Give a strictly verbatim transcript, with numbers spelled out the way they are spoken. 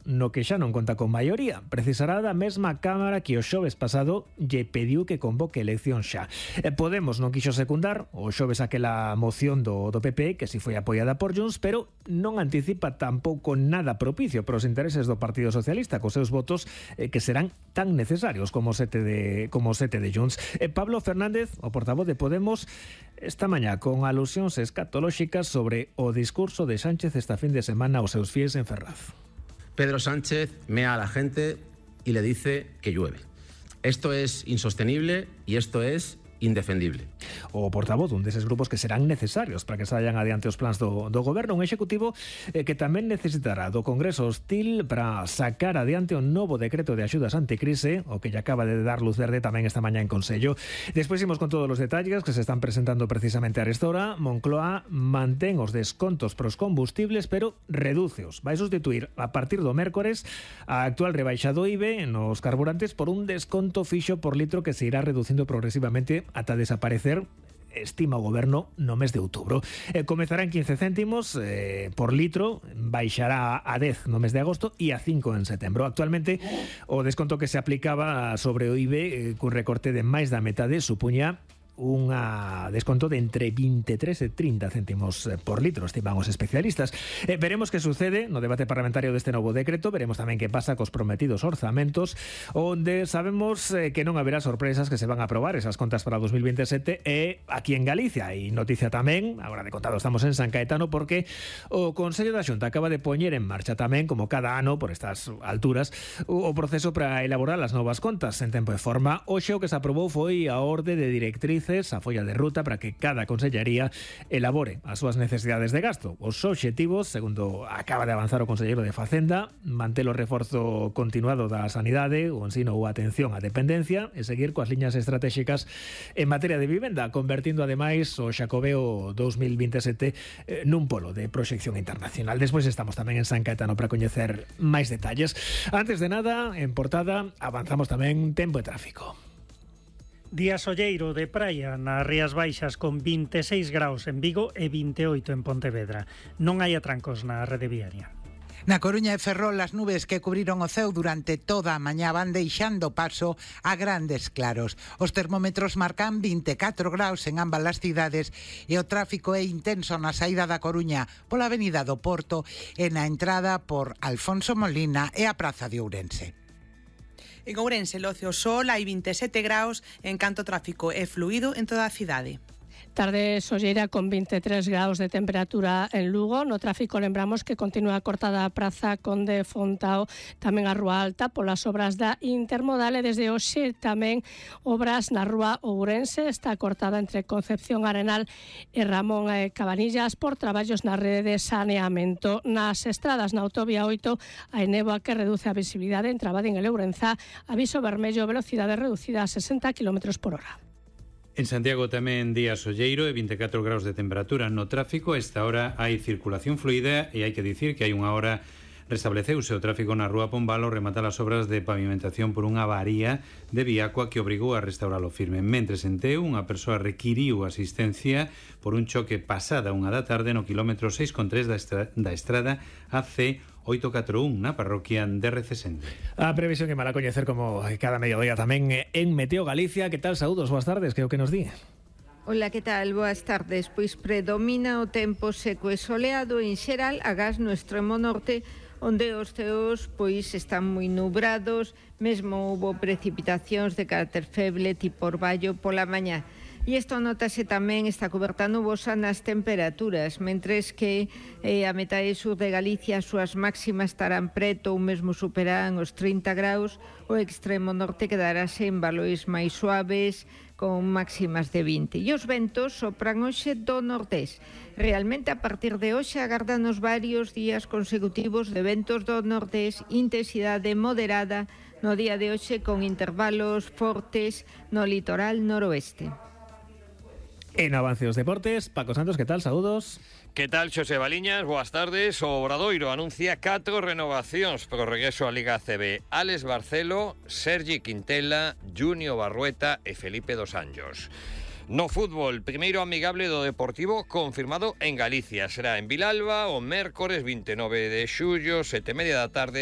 no que xa non conta con maioría. Precisará da mesma Cámara que o xoves pasado lle pediu que convoque elección xa. Podemos non quixo secundar o xoves aquela moción do, do P P, que si foi apoiada por Junts, pero non anticipa tampouco nada propicio para os intereses do Partido Socialista, cos seus votos eh, que serán tan necesarios como sete de, como sete de Junts. Eh, Pablo Fernández, o portavoz de Podemos, esta mañá con alusións escatolóxicas sobre o discurso de Sánchez esta fin de semana aos seus fies en Ferraz. Pedro Sánchez mea a la gente y le dice que llueve. Esto es insostenible y esto es indefendible. O portavoz dun deses grupos que serán necesarios para que salgan adiante os plans do, do goberno, un executivo eh, que tamén necesitará do Congreso hostil para sacar adiante un novo decreto de axudas anticrise, o que lle acaba de dar luz verde tamén esta mañá en Consello. Despois imos con todos os detalles que se están presentando precisamente a esta hora. Moncloa mantén os descontos pros combustibles, pero redúceos. Vai sustituir a partir do mércores a actual rebaixa do I V E nos carburantes por un desconto fixo por litro que se irá reducindo progresivamente ata desaparecer, estima o goberno, no mes de outubro. Eh, comezará en quince céntimos eh, por litro, baixará a dez no mes de agosto e a cinco en setembro. Actualmente, o desconto que se aplicaba sobre o I V E, eh, cun recorte de máis da metade, supuña un desconto de entre veintitrés e treinta céntimos por litro, estiman os especialistas. Eh, veremos que sucede no debate parlamentario deste novo decreto, veremos tamén que pasa cos prometidos orzamentos, onde sabemos eh, que non haberá sorpresas, que se van a aprobar esas contas para dos mil veintisiete e aquí en Galicia. E noticia tamén, agora de contado estamos en San Caetano, porque o Consello da Xunta acaba de poñer en marcha tamén, como cada ano por estas alturas, o, o proceso para elaborar as novas contas en tempo e forma. Hoxe o que se aprobou foi a orde de directriz, a folla de ruta para que cada consellería elabore as súas necesidades de gasto. Os obxectivos, segundo acaba de avanzar o conselleiro de Facenda, manter o reforzo continuado da sanidade, o ensino ou atención á dependencia e seguir coas liñas estratégicas en materia de vivenda, convertindo ademais o Xacobeo dos mil veintisiete eh, nun polo de proxección internacional. Despois estamos tamén en San Caetano para coñecer máis detalles. Antes de nada, en portada, avanzamos tamén tempo e tráfico. Día solleiro de praia nas Rías Baixas con veintiséis graus en Vigo e vinte e oito en Pontevedra. Non hai atrancos na rede viaria. Na Coruña e Ferrol, as nubes que cubriron o ceo durante toda a mañá van deixando paso a grandes claros. Os termómetros marcan vinte e catro graus en ambas as cidades e o tráfico é intenso na saída da Coruña pola avenida do Porto e na entrada por Alfonso Molina e a Praza de Ourense. En Ourense, Loce o Sol, hai veintisiete graus, en canto tráfico é fluido en toda a cidade. Tarde solleira con veintitrés graus de temperatura en Lugo. No tráfico lembramos que continúa cortada a Praza Conde Fontao, tamén a Rúa Alta polas obras da Intermodal e desde hoxe tamén obras na Rúa Ourense. Está cortada entre Concepción Arenal e Ramón Cabanillas por traballos na rede de saneamento. Nas estradas na autovía oito hai néboa que reduce a visibilidade en Trabadín e Lourenza. Aviso vermello, velocidade reducida a sesenta kilómetros por hora. En Santiago tamén día solleiro e vinte e catro graus de temperatura no tráfico. A esta hora hai circulación fluida e hai que dicir que hai unha hora restableceuse o tráfico na Rúa Pombal ao rematar as obras de pavimentación por unha avaría de Viacua que obrigou a restauralo firme. Mentres en Teu, unha persoa requiriu asistencia por un choque pasada unha da tarde no quilómetro seis con tres da, estra da estrada A C oito catro un na parroquia de Recesende. A previsión que mala coñecer como cada mediodía tamén en Meteo Galicia. Que tal? Saúdos, boas tardes, que é o que nos di? Ola, que tal? Boas tardes. Pois predomina o tempo seco e soleado en xeral, agás no extremo norte, onde os ceos pois están moi nubrados, mesmo houbo precipitacións de carácter feble tipo orballo pola mañá. E isto notase tamén esta coberta nubosa nas temperaturas, mentres que eh, a metade sur de Galicia as súas máximas estarán preto ou mesmo superarán os trinta graus, o extremo norte quedarase en valores máis suaves, con máximas de vinte. E os ventos sopran hoxe do nordés. Realmente, a partir de hoxe, agardanos varios días consecutivos de ventos do nordés, intensidade moderada no día de hoxe, con intervalos fortes no litoral noroeste. En avance os deportes, Paco Santos, que tal? Saúdos. Que tal, Xosé Baliñas? Boas tardes. O Obradoiro anuncia catro renovacións pro regreso á Liga A C B. Alex Barcelo, Sergi Quintela, Junio Barrueta e Felipe dos Anjos. No fútbol, primeiro amigable do Deportivo confirmado en Galicia. Será en Vilalba o mércores vinte e nove de xullo, sete e media da tarde,